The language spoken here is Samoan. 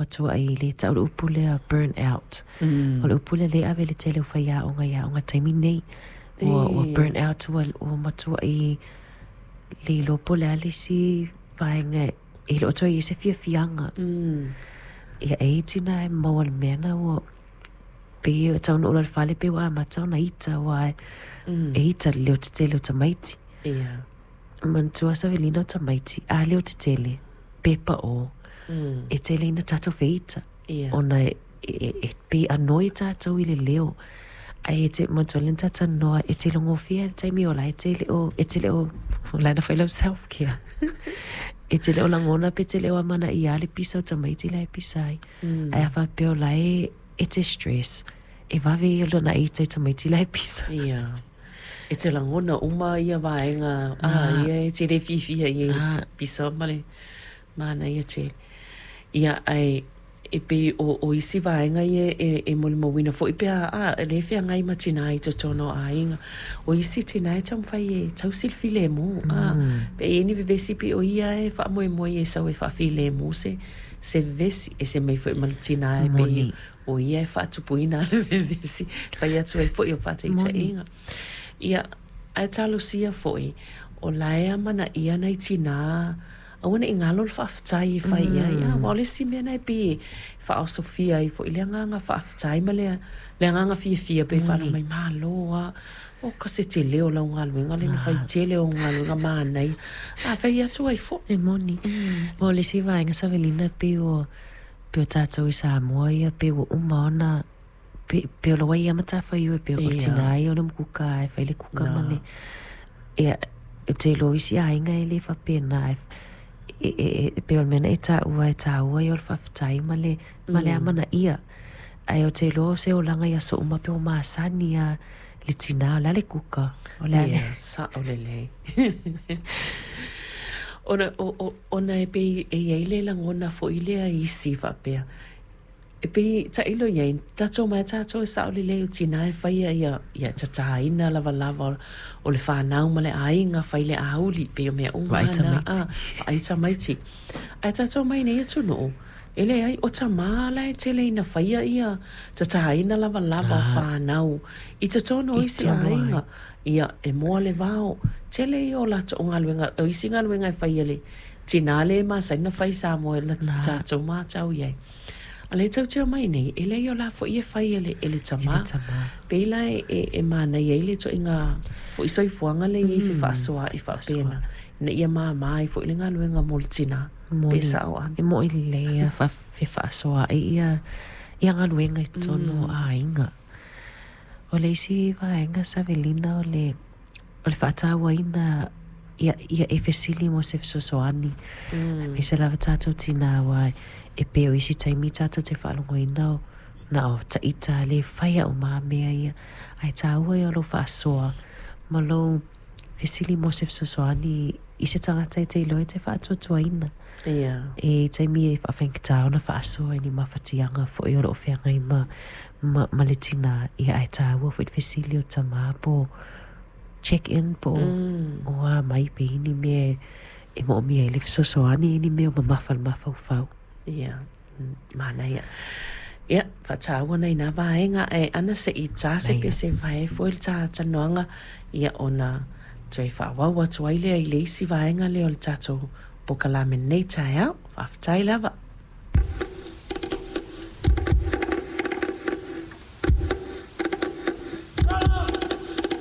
matuaʻi le tau le upu lea burn out. O le upu lea lea e ave i le tele o faiaoga i aoga i le taimi lenei. Ua, ua burn out, ua, ua matuaʻi le iloa po o le a le isi vaega e le o toe i ai se fiafiaga. Ia, e i ai tinā e maua i le mea lena ua pei e taunuu loa i le fale pei ua amata ona ita aua e ita i le leo tetele o tamaiti. Manatua Savelina o tamaiti, a leo tetele, pepa o, e tele ina tatou feita. Ona e, e, e pei anoi tatou i le leo. Ae e te, manatua lea na ta talanoa, e te iloa gofie lava i le taimi o la e te le o, e te le o, o la e na fai lau self care. E te le o lagona pe te le o amanaia le pisa o tamaiti la e pisa ai. Ae a faapea o la e, e te stress, e vave ia lona ita i tamaiti la e pisa. Ia. E te lagona uma ia vaega, a, ia e te le fiafia i ai pisa ma le manaia tele. Ia, ae e pei o, o isi vaega ia e, e molimauina foi pe a, a, e lē feagai ma tinā i totonu o aiga. O isi tinā e taumafai e tausi le filemu, a, pe i ai ni vevesi pei o ia e faamoemoe e sau e faafilemu se, se vevesi. Ese mai foi ma le tinā e pei o ia e faatupuina le vevesi, fai atu ai foi o faataitaiga. Ia, ae talosia foi, o la e amanaia nai tinā aua ne i galo le faafetai e fai i ai. Aua o le isi mea lena e pei e faaosofia ai foi le agaga faafetai ma le, le agaga fiafia pe faalogo mai, malo lava. O ka se tele o lau galuega lea na fai tele o galuega manaia. A fai atu ai foi. E moni. O le isi vaega Savelina pei o, pei o tatou i Samoa ia pei ua uma ona pe, pei o le ai lava matafaioi pei o le tinā ia o le kuka e fai le kuka ma le ia e te iloa o isi aiga e le faapena e, e, e, e pei o le mea na e taua e taua ia o le faafetai ma le, ma le amanaia. Ae ou te iloa o se olaga i aso uma pei ua masani lava le tinā o le a le kuka, o le a le. Ia, sao lelei. Ona, o, o, ona e pei e i ai le lagona foi lea i isi faapea, E pei tailo i ai, tatou mai tatou e sao lelei o tinā e faia ia, ia tatāina lavalava o le fanau ma le aiga, fai le auli, pei o mea uma Vaai na, tamaiti. a, vaai tamaiti. Ae tatou mai nei atunuu, e leai, o tamā la e tele ina faia ia tatāina lavalava o fanau i totonu o I isi totonu o aiga. Ia, e moa le vao. Tele ia o latou galuega, o isi galuega e fai e le tinā lea e masani ona fai i Samoa na tatou matau i ai. A lea tou te omai nei, e leai o la foi e fai e le, e le tamā. Pei la e, e, e manaia ai le ituaiga foi soifuaga lea e i ai fefaasoaai faapena, ina ia māmā ai foi le galuega mo le tinā. Pe sao Ana? E moni lelei lava fefaasoaai ia, ia galuega i totonu o aiga. O le isi vaega Savelina o le, o le faatauaina ia, ia e fesili mo se fesoasoani. Aemaise lava tatou tinā aua e pei o isi taimi tatou te faalogoina o na o taita lea e faia uma lava mea ia. Ae taua ia o lou faasoa ma lou fesili mo se fesoasoani i se tagata e te iloa e te faatuatuaina. E i ai taimi e faafaigata ona faasoa i ni mafatiaga foi o lo o feagai ma, ma, ma le tinā, ia ae taua foi le fesili o tamā po o check in po o, o a mai pe i ai ni mea e moomia ai le fesoasoani, ni mea o mamafa i le mafaufau. Ia, manaia. Ia, faataua nai nā vaega ae ana seʻi tā se pese vae foi le tā talanoaga, ia ona toe faaauau atu ai lea i le isi vaega lea o le tatou polokalame i lenei taeao. Faafetai lava.